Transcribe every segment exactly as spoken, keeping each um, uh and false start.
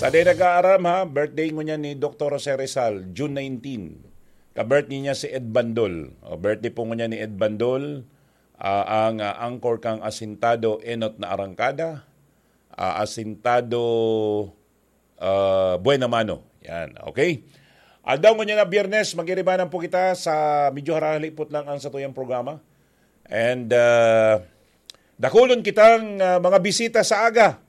Sa di nag-aaram ha, birthday ngunyan ni Doktor Jose Rizal, June nineteen. Ka-birthday niya si Ed Bandol. O, birthday po ngunyan ni Ed Bandol, ah, ang ah, anchor kang Asintado Enot na Arangkada, ah, Asintado ah, Buena Mano. Yan, okay? Aldaw ngunyan na Biyernes, magiribanan po kita sa medyo harahalipot lang ang satuyang programa. And ah, dakulon kitang ah, mga bisita sa aga.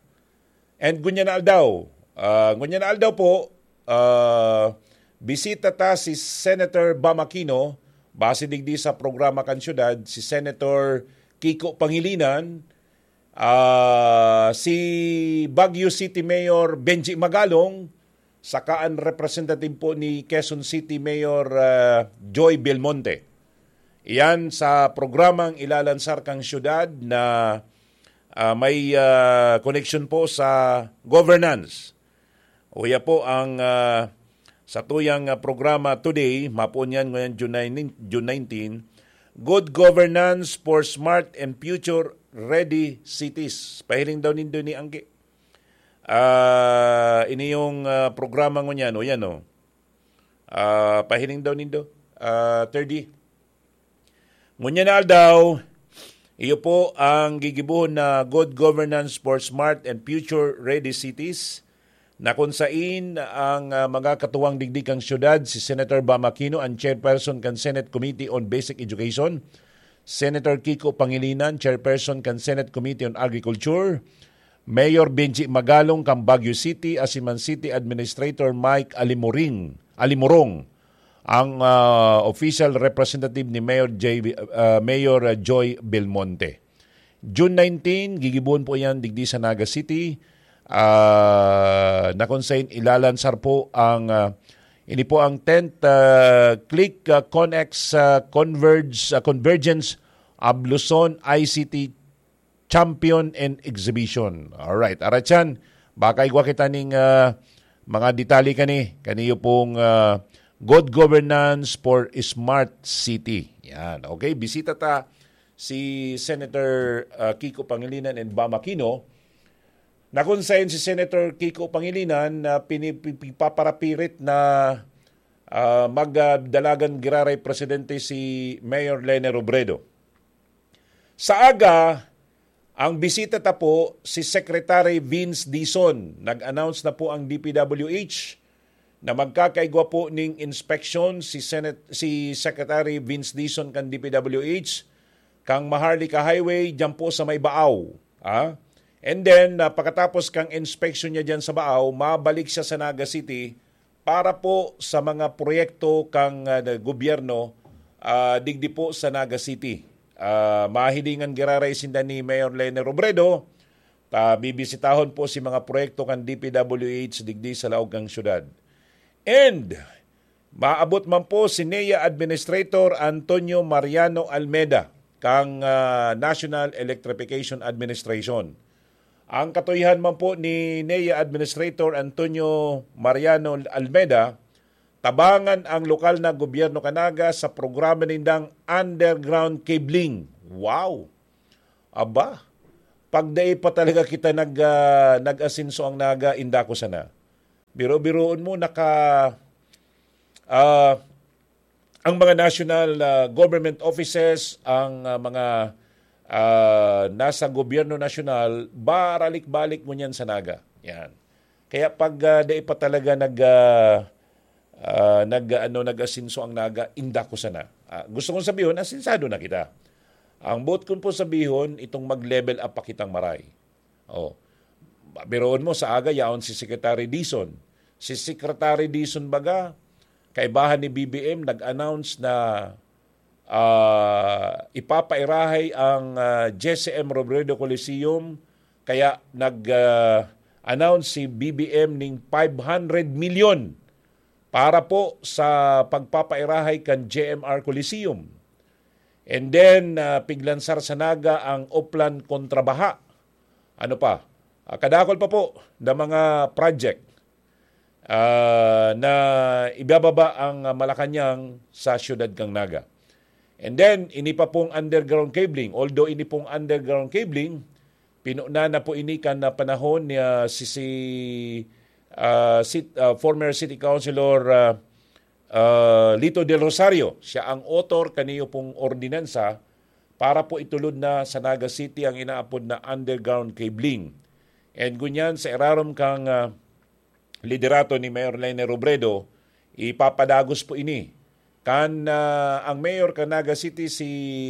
And ngunyan na aldaw, ah, ngunyan na aldaw po, ah, bisita ta si Senator Bam Aquino, base digdi sa programa kan syudad, si Senator Kiko Pangilinan, ah, si Baguio City Mayor Benji Magalong, saka an representative po ni Quezon City Mayor ah, Joy Belmonte. Iyan sa programang ilalansar kang syudad na ah, may ah, connection po sa governance. Uya po ang ah, satuyang ah, programa today, mapoon yan ngayon June nineteen, June nineteen, Good Governance for Smart and Future Ready Cities. Pahiling daw nindo ni Angge. Ah, ini yung ah, programa ngunyan, o yan o. Ah, pahiling daw nindo. Ah, thirty. Ngunyan na aldaw, iyo po ang gigibohon na Good Governance for Smart and Future Ready Cities, na kung sain ang ah, mga katuwang digdi kang syudad, si Senator Bam Aquino, ang chairperson kan Senate Committee on Basic Education, Senator Kiko Pangilinan, chairperson kan Senate Committee on Agriculture, Mayor Benji Magalong kan Baguio City, asin man City Administrator Mike Alimoring, Alimorong, ang ah, official representative ni Mayor J, ah, Mayor ah, Joy Belmonte. June nineteen, gigibohon po yan digdi sa Naga City. Ah, na kung sain ilalansar po ang ah, ini po ang tenth ah, Click ah, Connex ah, Converge, ah, Convergence of Luzon I C T Champion and Exhibition. Alright, aratyan, baka igwa kita ning ah, mga detalye kani, kaniyo pong ah, Good Governance for Smart City. Yan, okay? Bisita ta si Senator ah, Kiko Pangilinan and Bam Aquino, na kung sain si Senator Kiko Pangilinan na pini-, pi-, pipaparapirit na ah, magdalagan giraray presidente si Mayor Lene Robredo. Sa aga, ang bisita ta po si Secretary Vince Dizon. Nag-announce na po ang D P W H na magkakaigwa po ning inspeksyon si Senate, si Secretary Vince Dizon kan D P W H, kang Maharlika Highway, diyan po sa may Baaw. Ah? And then, ah, pagkatapos kang inspeksyon niya diyan sa Baaw, mabalik siya sa Naga City para po sa mga proyekto kang ah, gobyerno ah, digdi po sa Naga City. Ah, mahilingan giraray sinda ni Mayor Lene Robredo, ta bibisitahon po si mga proyekto kan D P W H digdi sa laog kan syudad. And maabot man po si NEA Administrator Antonio Mariano Almeda kang ah, National Electrification Administration. Ang katuyahan man po ni NEA Administrator Antonio Mariano Almeda, tabangan ang lokal na gobyerno kan Naga sa programa nindang underground cabling. Wow! Aba, pag dai pa talaga kita nag, ah, nag-asenso ang Naga, inda ko sana. Biro-biroon mo, naka, ah, ang mga national ah, government offices, ang ah, mga ah, nasa gobyerno nasyonal, baralik-balik ngunyan sa Naga. Yan. Kaya pag ah, dai pa talaga nag, ah, ah, nag, ano, nag-asenso ang Naga, inda ko sana. Ah, gusto kong sabihon, asensado na kita. Ang boot kong po sabihon, itong mag-level up pa kitang maray. Oh. Biroon mo, sa aga, yaon si Secretary Dizon. Si Secretary Dizon baga, kaibahan ni B B M, nag-announce na ah, ipapairahay ang ah, J C M Robredo Coliseum. Kaya nag-announce si B B M ning five hundred milyon para po sa pagpapairahay kan J M R Coliseum. And then, ah, piglansar sa Naga ang Oplan kontra baha. Ano pa? Ah, kadakol pa po na mga project ah, na ibababa ang ah, Malacañang sa siyudad kan Naga. And then, ini pa pong underground cabling. Although ini pong underground cabling, pinuna na po ini kan ah, panahon ni ah, si, si ah, sit-, ah, former City Councilor, ah, ah, Lito Del Rosario. Siya ang author kaniyo pong ordinansa para po itulod na sa Naga City ang inaapod na underground cabling. And ngunyan, sa irarom kang, ah, liderato ni Mayor Leni Robredo, ipapadagos po ini. Kan, ah, ang mayor kan Naga City, si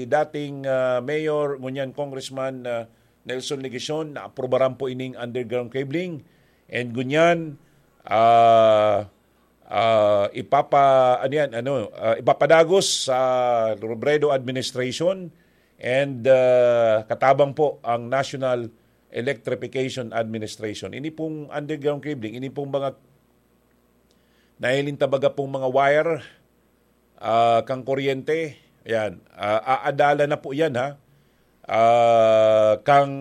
dating, ah, mayor, ngunyan Congressman, ah, Nelson Legacion, naaprubaran po ining underground cabling. And ngunyan, ah, ah, ipapa-, ano yan, ano, ah, ipapadagos sa Robredo administration and, ah, katabang po ang National Electrification Administration. Ini pong underground cabling, ini pong mga nahiling ta baga pong mga wire, ah, kang kuryente, yan, ah, aadala na po yan, ha, ah, kang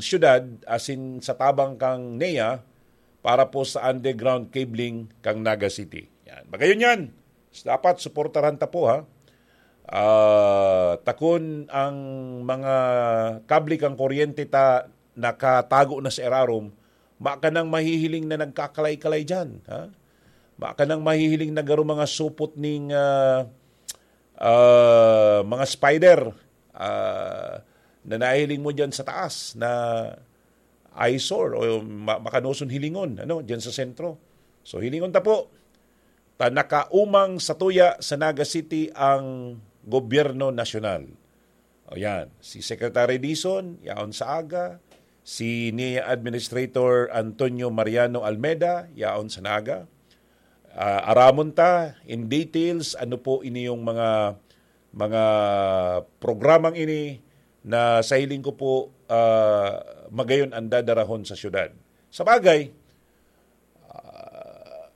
syudad, asin sa tabang kang NEA, para po sa underground cabling kang Naga City. Yan. Magayon yan. Dapat suportaran ta po, ha. Ah, takon ang mga kable kang kuryente ta nakatago na sa irarom, makanang mahihiling na nagkakalay-kalay diyan, ha? Makanang mahihiling na garo mga supot ning, ah, ah, mga spider, ah, na nahiling mo diyan sa taas na eyesore o ma-, makanoson hilingon, ano, diyan sa sentro. So, hilingon ta po, ta nakaumang satuya sa Naga City ang gobyerno nasyonal. O yan, si Secretary Dizon, yaon sa aga, si NEA Administrator Antonio Mariano Almeda, yaon sa Naga. Ah, aramon ta in details ano po ini yung mga, mga programang ini na sa hiling ko po, ah, magayon ang dadarahon sa syudad. Sa bagay, ah,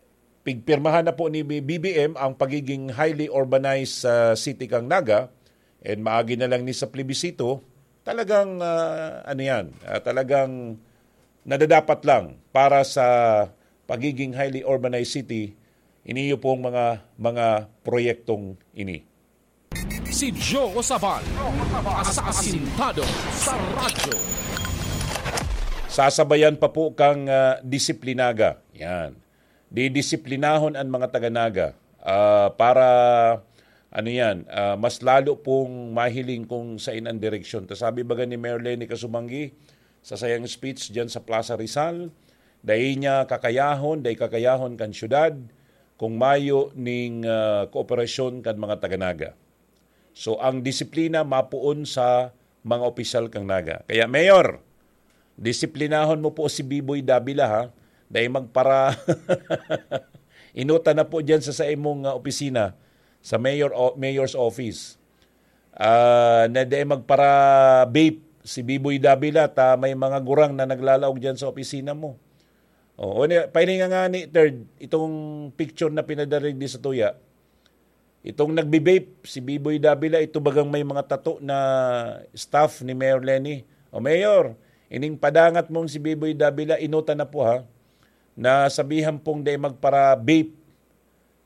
pigpirmahan na po ni B B M ang pagiging highly urbanized sa city kang Naga, and maagi na lang ni sa plebisito, talagang, ah, ano yan, ah, talagang nadadapat lang para sa pagiging highly urbanized city, iniyo pong mga, mga proyektong ini. Si Joe Sabal, asasintado sa radyo. Sasabayan pa po kang, ah, disiplinaga. Yan. Didisiplinahon ang mga taga-Naga, ah, para, ano yan, ah, mas lalo pong mahiling kung sain ang direksyon. Ta sabi baga ni Mayor Leni Kasumanggi sa sayang speech diyan sa Plaza Rizal, dai niya kakayahon, dai kakayahon kan syudad kung mayo ning, ah, kooperasyon kan mga taga-Naga. So, ang disiplina mapoon sa mga opisyal kang Naga. Kaya, Mayor, disiplinahon mo po si Biboy Davila, ha? Dai magpara-, inutan na po diyan sa, sa imong, ah, opisina, sa mayor o, mayor's office. Ah, na dai magpara-vape si Biboy Davila, ta may mga gurang na naglalaog diyan sa opisina mo. Oo, ni, pahilinga nga ni Third, itong picture na pinadara digdi sa tuya. Itong nagbe-vape, si Biboy Davila, ito bagang may mga tato na staff ni Mayor Leni. O Mayor, ining padangat mong si Biboy Davila, inutan na po ha, na sabihan pong dai magpara-vape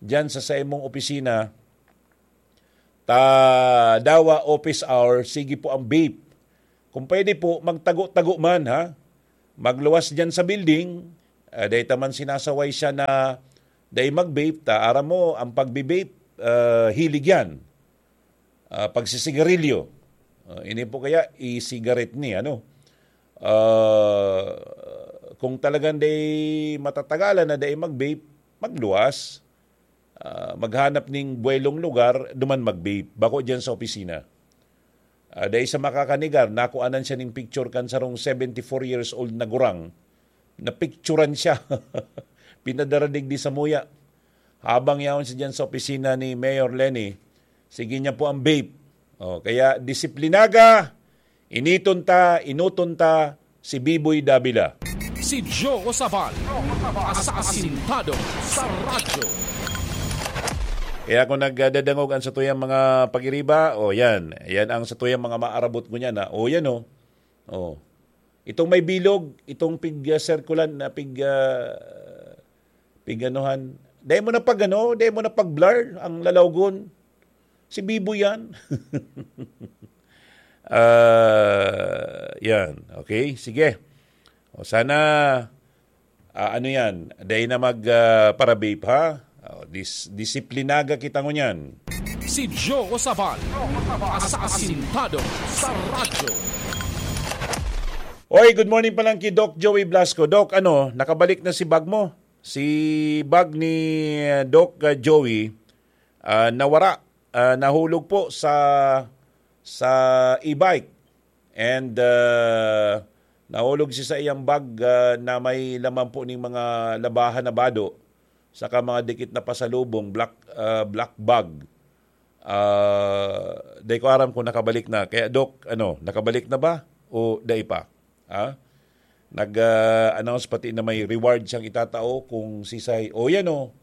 diyan sa, sa imong opisina, ta dawa office hour, sige po ang vape. Kung pwede po, magtago-tago man, ha? Magluwas diyan sa building, ah, dai ta man sinasaway siya na dai mag-vape, ta aram mo, ang pagbe-vape, ah, hilig yan. Ah, pagsisigarilyo. Ah, ini po kaya, e-cigarette ni, ano? Ah, kung talagang dai matatagalan na dai mag-vape, magluwas. Ah, maghanap ning buwelong lugar, duman mag-vape. Bako diyan sa opisina. Ah, dai sa makakanegar, nakuanan siya ning picture kan sarong seventy-four years old na gurang. Napicturan siya. Pinadara digdi samuya. Habang yaon siya diyan sa opisina ni Mayor Leni, sige niya po ang vape. Oh, kaya disiplinaga, initon ta, inuton ta si Biboy Davila. Si Joe Sabal, asasintado sa radyo. Kaya kung nagdadangog ang satuyang mga pag-iriba, o yan, yan ang satuyang mga maarabot ko niyan, ha? O yan, o. O. Itong may bilog, itong pig, ah, circulant na pig, ah, pig anuhan. Dahil mo na pag ano, dahil mo na pag blur ang lalawgon. Si Bibo yan. Ah, yan. Okay, sige. O sana, Ah, ano yan? Dai na mag, ah, para-vape, ha? Oh, dis-, disiplinaga kita ngunyan. Si Joe Sabal, asasintado sa radyo. Oy, good morning pa lang ki Doc Joey Blasco. Doc, ano, nakabalik na si bag mo? Si bag ni, ah, Doc, ah, Joey, ah, nawara. Ah, nahulog po sa, sa e-bike. And, ah, nahulog siya sa iyang bag, ah, na may laman po ning mga labahan na bado, saka mga dikit na pasalubong, black, ah, black bag. Ah, di ko aram kung nakabalik na. Kaya, Doc, ano, nakabalik na ba? O dai pa? Ha? Nag, ah, announce pati na may reward siyang itatao kung sisay. O yan, o.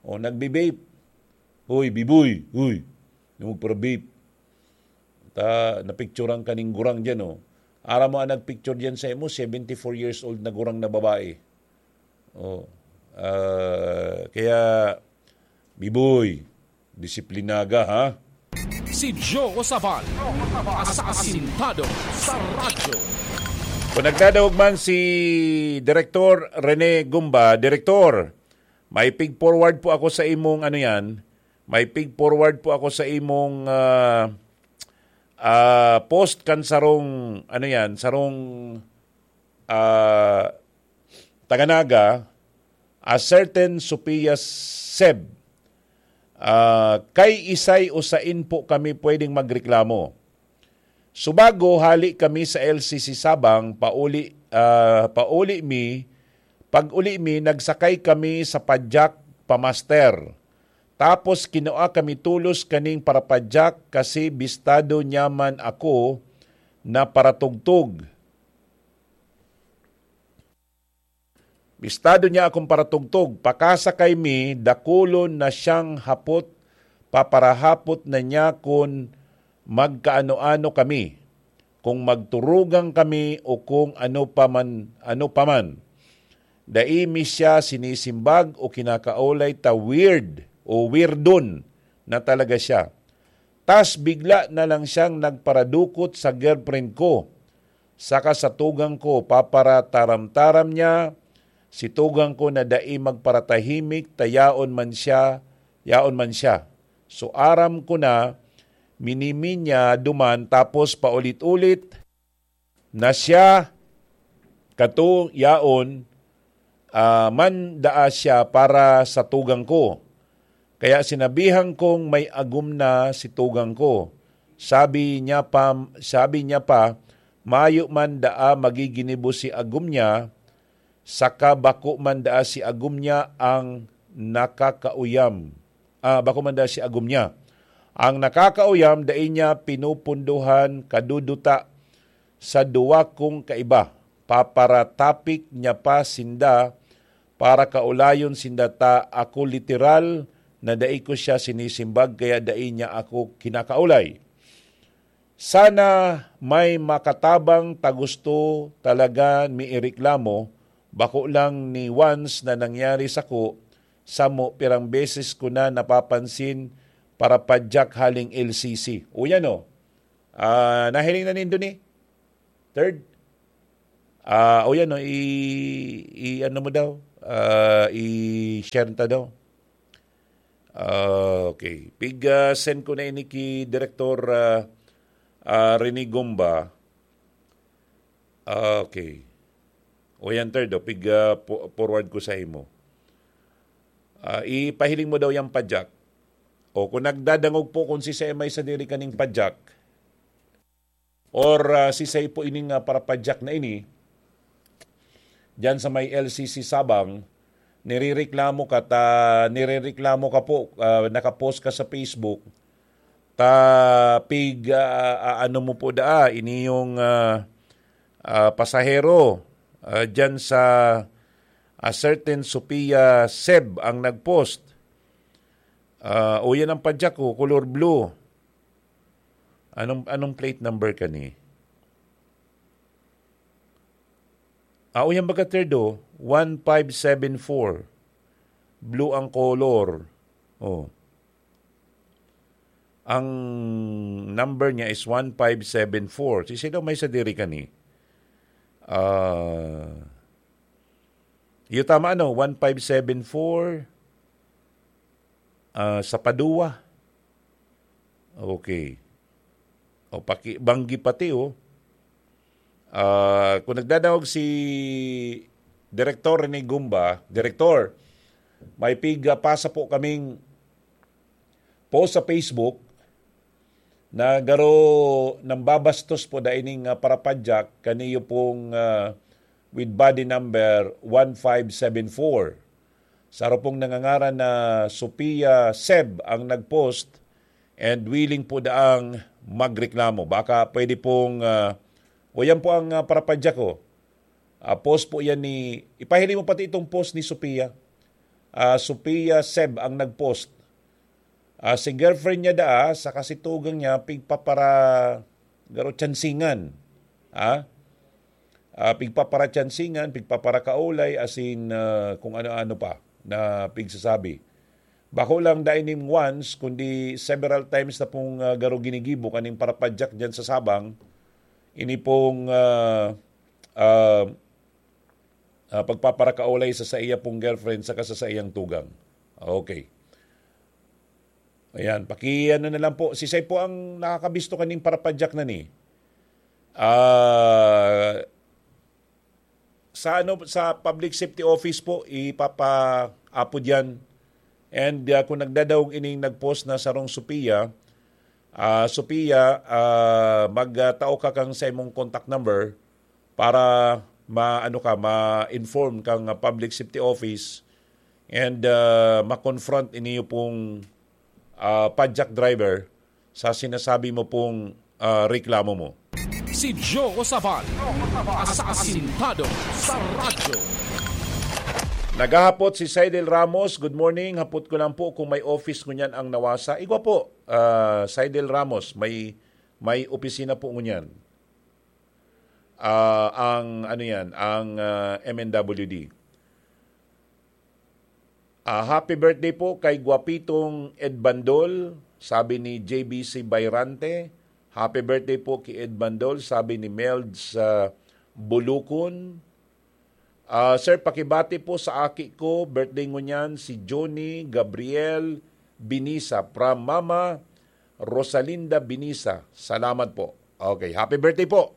O, nagbe-vape. Hoy, biboy. Hoy. Yung magpara-vape. Ta, napicturan ka ning gurang dyan, o. Aram mo ang nagpicture dyan sa imo, seventy-four years old na gurang na babae. Oh. Ah, kaya, biboy, disiplinaga, ha? Si Joe Sabal, asasintado sa radyo. Kung nagdadangog man si Direktor Rene Gumba, Direktor, may pig-forward po ako sa imong, ano yan, may pig-forward po ako sa imong, ah, ah, post kan sarong, ano yan, sarong, ah, taga Naga, a certain Sophia Seb, ah, kay isay o sain po kami pwedeng magreklamo. Subago, hali kami sa L C C Sabang, pauli, ah, pauli mi, pag-uli mi, nagsakay kami sa padyak pa Master. Tapos kinua kami tolos kaning parapadyak kasi bistado niya man ako na paratugtog. Bistado niya akong paratugtog. Pakasakay mi, dakulon na siyang hapot, paparahapot na niya kun magkaano-ano kami, kung magturugang kami o kung ano pa man, ano pa man. Dai mi siya sinisimbag o kinakaulay ta weird o weirdon na talaga siya. Tas bigla na lang siyang nagparadukot sa girlfriend ko, saka sa tugang ko, paparataram-taram niya, si tugang ko na dai magparatahimik, ta yaon man siya, yaon man siya. So, aram ko na, minimi niya duman, tapos paulit-ulit na siya, kato, yaon, ah, man daa siya para sa tugang ko. Kaya sinabihan kong may agom na si tugang ko. Sabi niya pa, sabi niya pa, mayo man daa magiginibo si agom niya, saka bako man daa si agom niya ang nakakauyam. Ah, bako man daa si agom niya. Ang nakakauyam, dai niya pinupundohan kaduduta sa duwa kong kaiba. Paparatapik niya pa sinda para kaulayon sinda ta ako literal na dai ko siya sinisimbag kaya dai niya ako kinakaulay. Sana may makatabang ta gusto talaga mi ireklamo, bako lang ni once na nangyari sako, samo pirang beses ko na napapansin parapadyak haling L C C. O yan o. Ah, nahiling na nindo ni? Third? Ah, o yan o, i, i ano mo daw? Ah, i-share ta daw. Ah, okay. Pig, ah, send ko na ini ki Direktor, ah, ah, Rene Gomba. Ah, okay. O yan, third, o. Pig, ah, po-, forward ko sa imo. Ah, ipahiling mo daw yung padyak. O kung nagdadangog po kung si Semay sa diri kaning padyak, or, ah, si Seipo ining, ah, parapadyak na ini, diyan sa may L C C Sabang, nirereklamo ka ta, nirereklamo ka po, ah, nakapost ka sa Facebook, ta pig, ah, ah, ano mo po daa, ini yung, ah, ah, pasahero, ah, diyan sa, ah, certain Sophia Seb ang nagpost. Ah, o yan ang padyak ko, color blue. Anong, anong plate number ka ni? Ah, o yan baga, third, o. One five seven four. Blue ang color. Oh. Ang number niya is one five seven four. Si sino may sa diri ka ni? Ah, Iyo tama, no? One five seven four, ah, sa Padua. Okay. O, paki-, Banggi pati, oh. Ah, kung nagdadangog si Direktor Rene Gumba, Direktor, may pig, ah, pasa po kaming post sa Facebook na garo nambabastos po da ining, ah, parapadyak kaniyo pong, ah, with body number one five seven four. Saro pong nangangaran na Sophia Seb ang nag-post and willing po daang magreklamo. Baka pwede pong, ah, o yan po ang, ah, parapadyak ko. Ah, post po yan ni, ipahiling mo pati itong post ni Sophia. Ah, Sophia Seb ang nag-post. Ah, si girlfriend niya daa, sa kasitugang niya, pigpapara-, garo tsansingan. Ha? Ah, pigpaparatsansingan, pigpaparakaolay, asin, ah, kung ano-ano pa na pigsasabi. Bako lang dai nin once, kundi several times na pong, ah, garo ginigibo kaning parapadyak dyan sa Sabang. Ini pong, ah, ah, ah, pagpaparakaolay sa saiya pong girlfriend saka sa saiyang tugang. Okay. Ayan, paki-ano na lang po. Sisay po ang nakakabisto kaning parapadyak na ni? Ah, sa ano, sa public safety office po, ipapaapod yan. And, ah, kung nagdadaog ining nag-post na sarong Sophia, ah, Sophia, ah, magtao ka kang sa imong contact number para ma-, ano ka, ma-inform kang, ah, public safety office and, ah, ma-confront iniyo pong, ah, padyak driver sa sinasabi mo pong, ah, reklamo mo. Si Joe Sabal, asasintado sa radyo. Naghahapot si Saidel Ramos. Good morning. Hapot ko lang po kung may office ngunyan ang nawasa. Igwa po, ah, Saidel Ramos, may, may opisina po ngunyan. Ah, ang, ano yan, ang, ah, M N W D. Ah, happy birthday po kay Guapitong Ed Bandol, sabi ni J B C Bayrante. Happy birthday po kay Ed Bandol, sabi ni Melds, ah, Bulukon. Ah, sir, pakibati po sa aki ko, birthday ngunyan, si Johnny Gabriel Binisa, from Mama Rosalinda Binisa. Salamat po. Okay, happy birthday po.